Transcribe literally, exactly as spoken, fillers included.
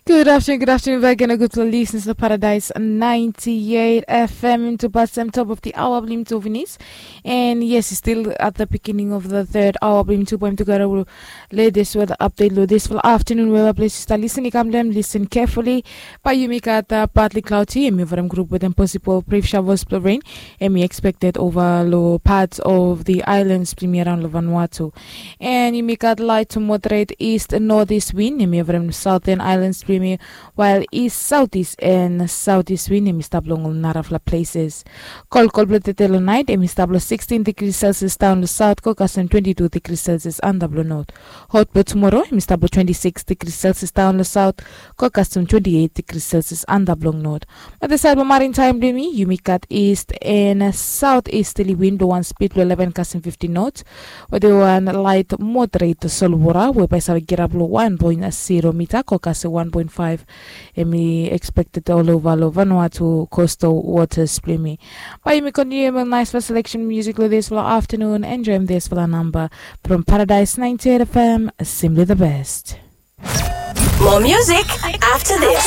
Good afternoon, good afternoon back again, gudfala listeners lo Paradise ninety-eight F M. Into Batsam, top of the hour, Blim Tovinis. And yes, it's still at the beginning of the third hour, Blim Two Point together with latest weather update lo this for afternoon. Weather places that listen, come them, listen carefully. But you make at the partly cloudy, and me from group with them possible brief showers of rain, and we expected over low parts of the islands, Blim around lo Vanuatu. And yumi gat light to moderate east northeast wind, yumi from southern islands, Blim, while east southeast and southeast wind, yumi stap long narafla places. Kol kol blo tete lo nait, yumi stap lo sixteen degrees Celsius down lo south, go kasem twenty-two degrees Celsius under blo north. Hot blo tomorrow, yumi stap lo twenty-six degrees Celsius down lo south, go kasem twenty-eight degrees Celsius under blo north. But the side of maritime, Blim, yumi gat east and southeasterly wind blo one speed blo eleven kasem fifty knots. With the one light moderate solwara, we by side get up lo one point zero meter, go kasem one point five. Yumi expected all over lo Vanuatu coastal waters, Blim. But yumi continue with nice for selection music lo this for afternoon. Enjoy this for the number from Paradise ninety-eight F M, simply the best. More music after this.